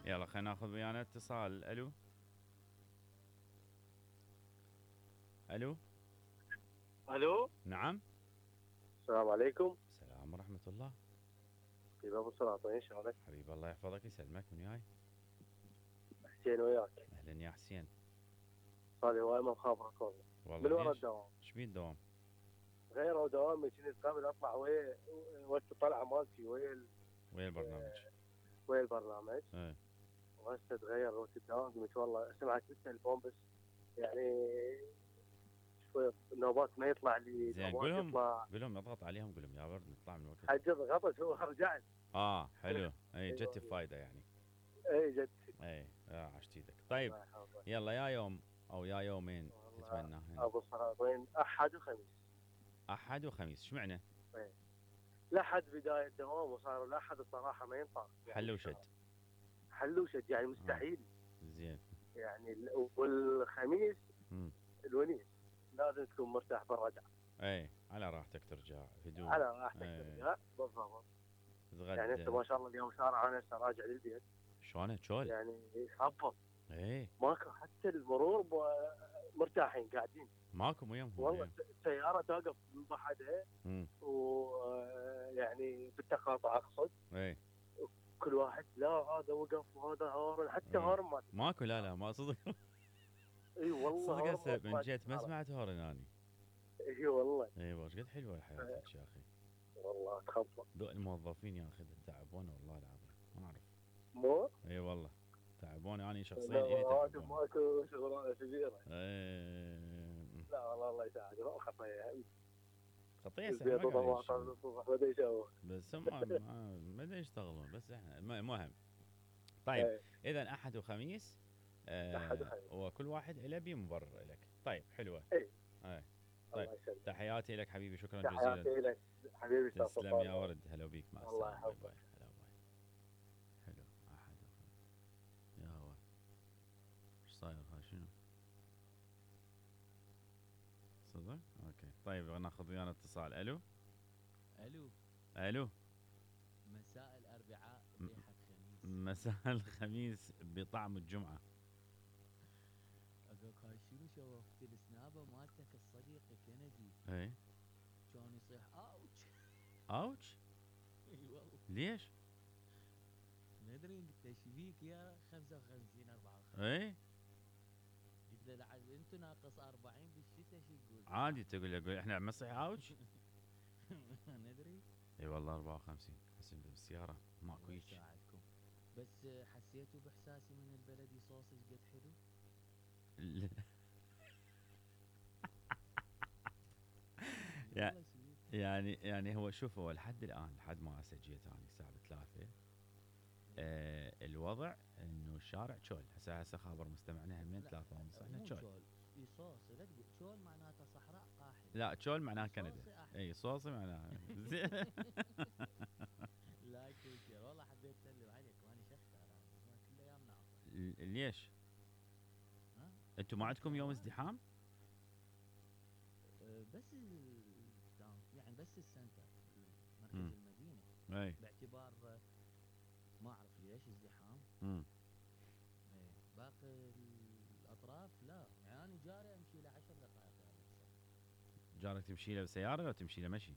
يلا خلينا ناخذ ويانا اتصال. الو الو. الو. نعم. السلام عليكم. السلام ورحمة الله. حبيب ابو سلاطين شلونك؟ حبيب الله يحفظك يسلمك. من وياي؟ حسين وياك. اهلا يا حسين. صار لي هواي ما مخابرك والله. والله من ورا ليش؟ الدوام. ايش بيه الدوام؟ غيروا دوامي كنت قبل اطلع وقت الطلعه مالتي ويا البرنامج. ويا البرنامج. ايه. وهسه تغير وقت الدوام قلت والله اسمعك بالتليفون بس يعني شويه نوبات ما يطلع لي. زين نوبات قول يطلع لهم اضغط عليهم قول لهم يا برد نطلع من الوقت. حجز غطس هو رجعت. حلو. اي أيوة. جت بفايده يعني. اي جد. اي عشت ايدك. طيب الله يحفظك. يلا يا يوم او يا يومين تتمنى. ابو سلاطين احد وخميس. احد وخميس اشمعنى؟ ايه الاحد بدايه دوام وصار الاحد الصراحه ما ينفع يعني حل وشد. حل وشد يعني مستحيل. زين. يعني والخميس الونيس لازم تكون مرتاح بالرجعه. اي على راحتك ترجع هدوء. على راحتك ترجع بالضبط. يعني انت ما شاء الله اليوم شارع انا هسه راجع للبيت. شلونه تشول؟ يعني خبط. ايه ماكو حتى المرور مرتاحين قاعدين. ماكو وياهم والله السياره توقف من بعدها ويعني بالتقاطع اقصد. ايه كل واحد لا هذا وقف وهذا هارن حتى هارن ماكو. لا ما صدق. اي والله صدق هسه من جيت ما سمعت هارن اني. اي والله. اي وش قد حلوه حياتك يا اخي. والله تخبط. ذوق الموظفين يا اخي تعبونا والله العظيم ما اعرف. مو؟ اي والله تعبوني انا شخصيا. رواتب ماكو شغلانه كبيره. لا والله الله يساعدك خطيه سهله بس ما ما ادري يشتغلون بس احنا المهم. طيب اذا احد وخميس. احد وخميس وكل واحد له بيه مبرر لك. طيب حلوه. طيب تحياتي لك حبيبي شكرا جزيلا. تحياتي لك حبيبي. تسلم يا ورد. هلا بيك مع السلامه. الله يحفظك. هلا باي. حلو احد وخميس. يا هو ايش صاير ها شنو؟ صدق؟ اوكي طيب ناخذ ويانا اتصال. الو الو. مساء الاربعاء ريحة خميس. مساء الخميس بطعم الجمعة. اقولك هاي شنو شوفت السنابه مالتك الصديق كندي. اي كان يصيح اوتش. اي والله. ليش؟ ما ادري قلت له ايش بيك يا 55 54. اي قلت له انتم ناقص 40 بالشتاء شو يقول؟ عادي تقول احنا عم نصيح اوتش. ما ندري. اي والله 54 حسين بالسيارة ماكو هيك. يساعدكم. بس حسيتوا باحساسي من البلدي صوص ايش قد حلو؟ يعني هو شوف هو لحد الان لحد ما هسه جيت انا الساعه 3 الوضع انه الشارع تشول. هسه خابر مستمعنا همين 3 ونص احنا تشول. صوص لا تقول تشول معناته صحراء قاحله. لا تشول معناها كندا. اي صوصي معناها زين. لا كل والله حبيت اسلم عليك وانا شخت على كل ايام ناطر. ليش؟ انتم ما عندكم يوم ازدحام؟ بس يعني بس السنتر مركز المدينه. اي باعتبار ما اعرف ليش ازدحام. باقي الاطراف لا يعني انا جاري امشي له 10 دقائق. جارك تمشي له بسياره لو تمشي له مشي؟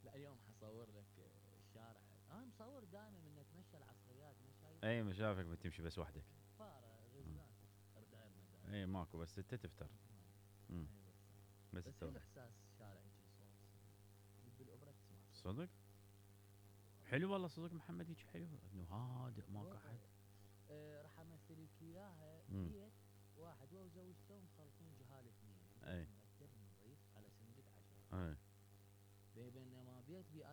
لا اليوم حصور لك الشارع. انا مصور دائما من اتمشى العصريات ما شايف. اي ما شافك بتمشي بس وحدك. فاره غزلان غير مدار. اي ماكو بس انت تفتر. بس احساس شارع يجي صوص بالاوبرا تسمع صدق؟ حلو والله صدق محمد هيك حلو انه هادئ ماكو احد. راح امثل لك اياها. بيت واحد وزوجته مخلطين جهال اثنين. اي نضيف على سندك 10. اي بينما بيت